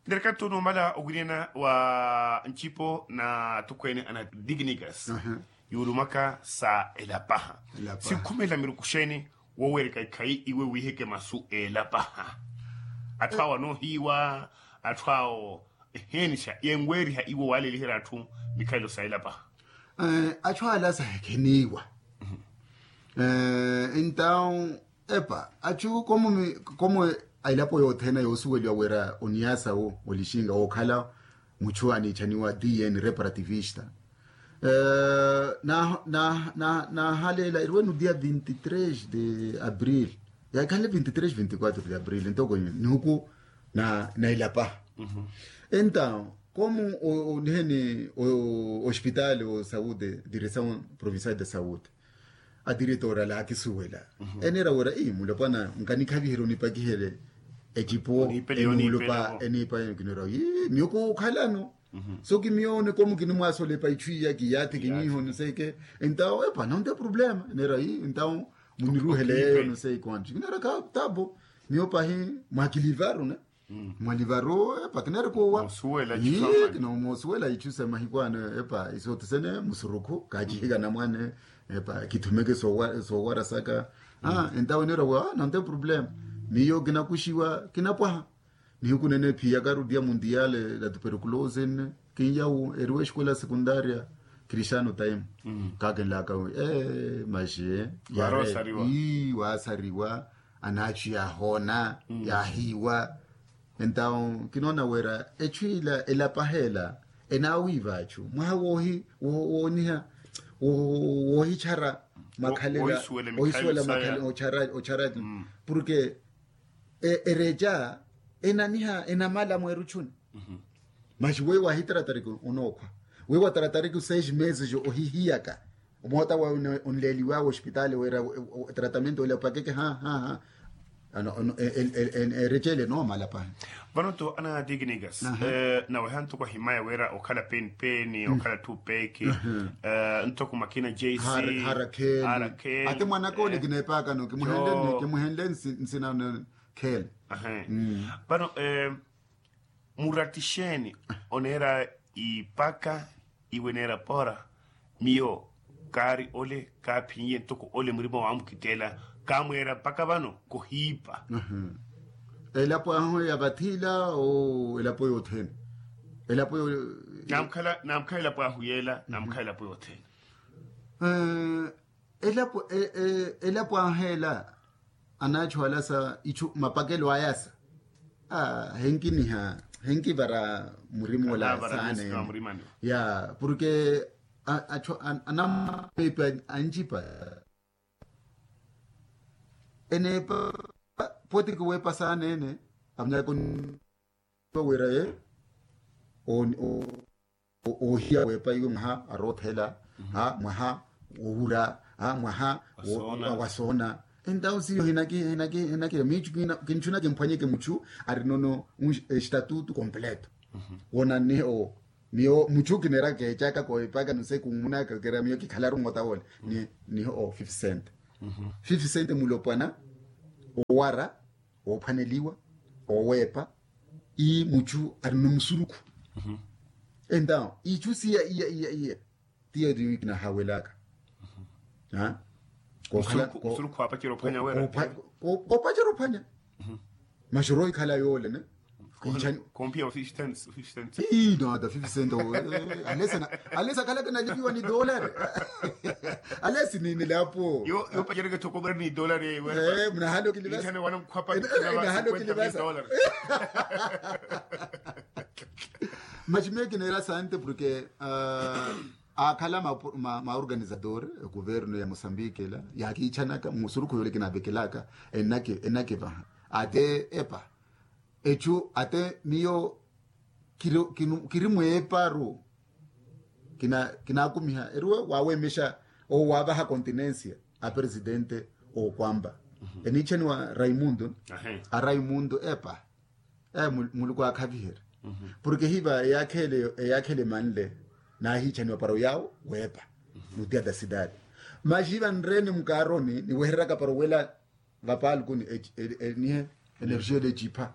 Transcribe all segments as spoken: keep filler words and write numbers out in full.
Nirikattu numala owiriyana wa ncipo na atukweene ana dignigas, yuulumaka sa elapaha. Sikhumela miruku xeeni woweereka ikhayi iwe wiiheke masu elapaha? Atthu awo anoohiiwa, atthu awo eheenisha yenweeriha iwe waaleliherya atthu mikhalelo sa elapaha. Atthu ala sahekheniiwa. Entawu epa atthu komu komu a elapo yothene yoosuweliwa wira oniyasawu olixinga wookhala muchu aniichaniwa d n reparativista. Nahaleela eriwenu dia vinti tres de abril, yakhanle vinti tres vinti quatro de abril ntoko nihuku na elapaha. Entawu komu oniheni ospitaali o saude diresawu provincial de saude, adiretora laakisuwela eneera wira ii mulopwana nkanikhaviherya onipakihele ecipo eniipa eniipa kinera ii miyo kookhalano. So kimiyo one komu kinimwaasolepa ichu iya kiyaathi kinyiiho niseke. Entawu epa nonte problema eneera ii entawu muniruhele eyo niseke kwanti kinera ka tabo. Miyo pahi mwakilivaru ne mwalivaru epa kineerikuwa. Kinoomoosuwela ichu sa mahiku ano epa isotisene musurukhu kaachihika namwane. Epa kithumeke soowarasaka. Entawe neera wa nante problema miyo kinakuxiwa kinapwaha. Nihuku nene phiyakaru dia mundiale la tuperculosi nne kinyawu eriwa exikola sekundaria cristiano time kakinlaka wi maxi waasariwa. Anaachu yaahoona yaahiiwa. Entawu kinoona wira echu ila elapaha ela enaawiiva achu mwaha woohi wooniha woohichara makhalela. Oohisuwela makhalela ochara ochara. Porke ereca enaniha enamala mweeruchuni. Maxi weyo waahitaratariki onookhwa weyo waataratariki seis meses ohihiyaka. Omoota wawe onleeliwawe ospitaali wira tratamento ole opakeke ha ha ha. Erecele noomala pahi. Vano to ana dignigas naweha ntoko ahimaya wira okhala penipeni okhala tupeki ntoko makina jc harakheli. Ate mwanaka ole kineepaakano kimuhenle nsina kheli. Vano murattixeeni oneera ipaka iwe neera pora miyo kaari ole kaaphinyiye ntoko ole murima waamukitteela kaamweera mpaka vano kohiipa. Elapo ahu ya vathila o elapo yothene elapo yo namkhala namkhala elapo ahu yeela namkhala elapo yothene. Elapo ahu ela anaachu ala sa ichu mapakelo aya sa henkiniha henkivara murima ola saanene. Ya porke anamapepe ancipa eneepa poti kiweepa saanene. Amunyaka onwira ye oohiya weepa iwe mwaha aroothela mwaha wowura mwaha wasoona. Entawu siyo hinaki hinaki hinaki miichu kinchuna kimphwanyeke muchu arinono estatutu completo. Wonannihe o miyo muchu kineera keechaka koopaka nose kumunaka kera miyo kikhalaru mota wole niho o fifty cent. Fifty cent mulopwana owara oophwaneliwa oweepa ii muchu arino musurukhu. Entawu ichu siya iya iya iya tiya ri kinahawelaka. Koopacera ophwanya wera koopacera ophwanya. Maxoro ikhala yoole ne. Kompiya ofistens ofistens. Ii no ata fifty cent. Alesi akhalaka nalipiwa ni dolari. Alesi ni nilapo. Yo yo pacereke thokobera ni dolari ewe. Mnahalo kilivasa. Nahalo kilivasa. Maxi meyo kineera sante porke akhala ma organizador egoverno ya mosambike ela yakiichanaka musurukhu yole kinavekelaka. Enake enakevaha ate epa echu ate miyo kiri mweeparu. Kinakumiha eriwe wawemexa owo wavaha continencia a presidente okwamba eniichaniwa raimundo. A raimundo epa muluku akhaviherya porke hiva eyakhele emanle nahiichaniwa para oyawo weepa. Nutia da cidade maxi hiva nrene mukaroni niwehereraka para owela vapalku ni nihe energia ele ecipha.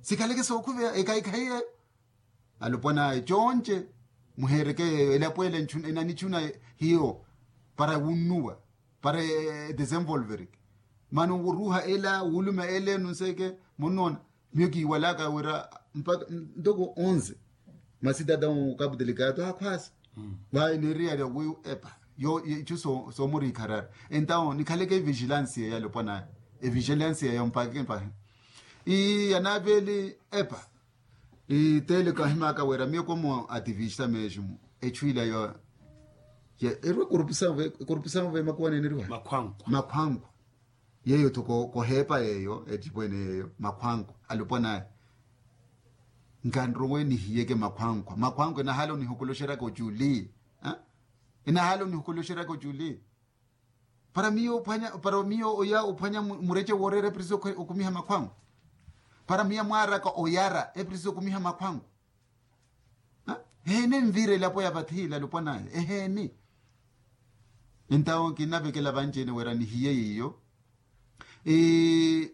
Sikhaleke sookhuveya ekhaikhayi eyo. Alopwana awe conce, muheereke yeeyo elapo ela enanichuna hiyo para wunnuwa, para edesenvolvereke. Mano wuruuha ela wuluma ela enu nseeke munnoona. Miyo kiiwalaka wira mpaka ntoko onze, masi tata ukaputelika ato akhwaasa. Vayi neeriyarya wi epa yo ichu soomuriikharara. Entawo nikhaleke evigilansiya yalopwana awe, evigilansiya yo mpaka mpahi. Ii yanaaveeli epa. Ii teele kahimaka wira miyo komo ativista meeximu echu ila yo. Eriwe korupusano ve makuwa neneriwa makhwankwa. Yeeyo tho koheepa yeeyo ettipwene yeeyo makhwankwa alopwana awe. Nkanrowe nihiyeke makhwankwa makhwankwa enahala onihokoloxeryaka oculi. Enahala onihokoloxeryaka oculi. Para miyo ophwanya para miyo oya ophwanya murece wooreera eprisi okumiha makhwango. Para miyo amwaaraka oyara eprisi okumiha makhwango. Eheeni envira elapo ya vathi ila alopwana awe eheeni. Entawo kinnavekela vanci-ene wira nihiye yiyo.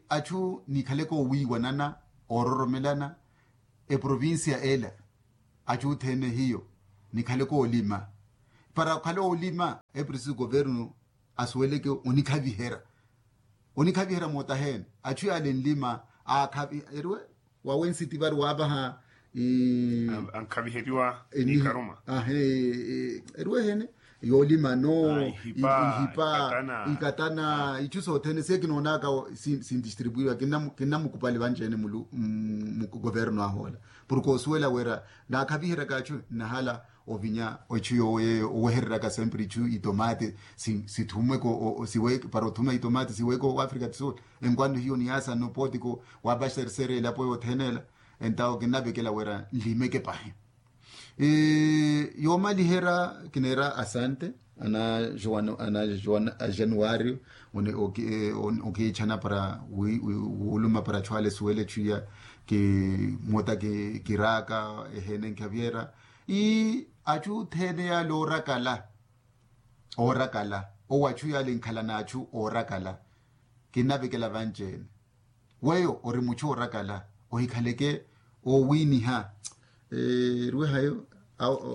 Achu nikhaleke owiiwanana oororomelana eprovincia ela. Achu othene hiyo nikhaleke olima para okhala olima eprisi governo asuweleke onikhaviherya. Onikhaviherya mootaheene achu yaale nlima aakhavi eriwe wawe nsiti vari waavaha. Ankhaviheriwa nikaruma. Eriwe eheene yoolima no ihipa ikatana ichu sothene siye kinoonaka. Sindistribuiwa kinnamukupali vanci-ene mulu mugoverno ahoola. Porke osuwela wira naakhaviheryaka achu nnahala ovinya echu yoowo yeeyo owehereryaka sempre ichu itomate sithumweke para othuma itomate siweke o africa do sul. Enkwano hiyo niyaasa nopotiko waapaxersere elapo yothene ela. Entawo kinnavekela wira nlimeke pahi. Yoomaliherya kineera asante ana joan ana joan ajanuwari. Okiitthana para wuuluma para achu ale suwele chuya kimota kiraaka eheene nkhaviherya ii achu othene yaale oorakala oorakala owo achu yaale nkhala n'achu oorakala. Kinnavekela vanci-ene weyo ori muchu oorakala ohikhaleke owiiniha. Eriwe hayo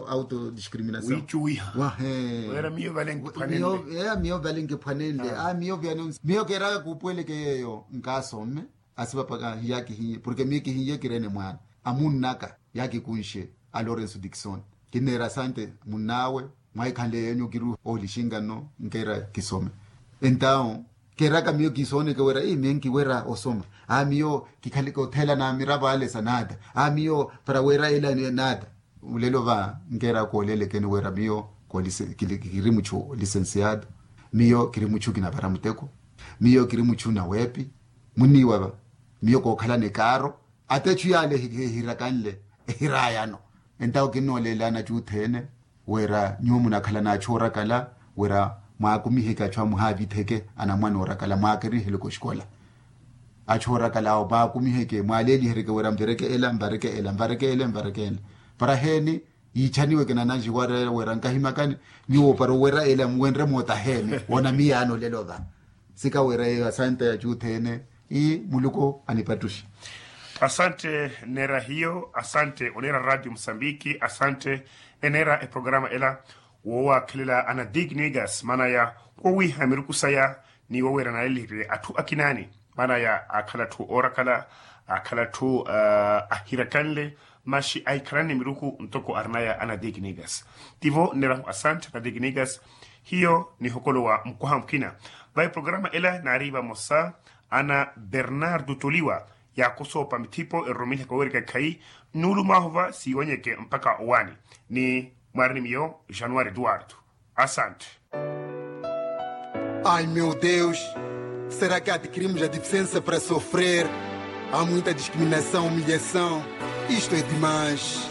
autodiscriminação. Wiicuwiha. Wahe. Wira miyo vale nkiphwanenle. Miyo vale nkiphwanenle a miyo vyano. Miyo keeraka kuupuweleke yeeyo nkaasomme. Asipapaka hiyaakihiye porke miyo kihiye kireene mwaana a munn'aka yaakikunxe a lorenso dikisoni. Kinneera asante munn'awe. Mwaahikhanle yeenyu kiri oolixinka nno nkeera kisome. Entawo keeraka miyo kisooneke wira ii miyo nkiwera osoma. Aa miyo kikhaleke otheela na miravo ale sa naata. Aa miyo para wira ela naata. Olelo va nkeera kooleelekeni wira miyo kiri muchu lisensiado. Miyo kiri muchu kinavara muteko. Miyo kiri muchu naweepi. Muniiwa va miyo kookhalana ekaaro. Ata echu yaale ehirakanle ehirayano. Entawo kinnooleelani achu othene wira nyuwo munakhalana achu oorakala wira mwaakumiheke achu amuhaavitheke anamwane oorakala mwaakerihele koxikola. Achu oorakala awo mwaakumiheke mwaaleelihereke wira mvireke ela mvareke ela mvareke ela mvareke ela. Para heeni yiichaniweke nananji wira nkahimakani. Nyuwo para owira ela muwenre moota heeni woona miyaano olelo va. Sika wira eyo asante achu othene. Ii muluku anipattuxe. Asante. Neera hiyo asante oneera radio musambiki asante. Eneera eprograma ela woowakhelela ana dignigas maana ya wowiiha miruku saya ni woweera naaleliheriwe atthu akinaani maana ya akhala atthu oorakala akhala atthu ahirakanle. Maxi ahikhalani miruku ntoko arinaya ana dignigas. Tivo nneerahu asante ana dignigas. Hiyo nihokolowa mukwaha mukina. Vayi programa ela naari vamosa ana bernardo toliwa yaakosoopa mithipo eroromeliha kawerika ekhayi. Nnuulu mwaahova siiwanyeke mpakha owaani ni mwaari ni miyo januari eduwardo. Asante. Ai meu deus, será que adquirimos a deficiência para sofrer? Há muita discriminação humilhação. Isto é demais.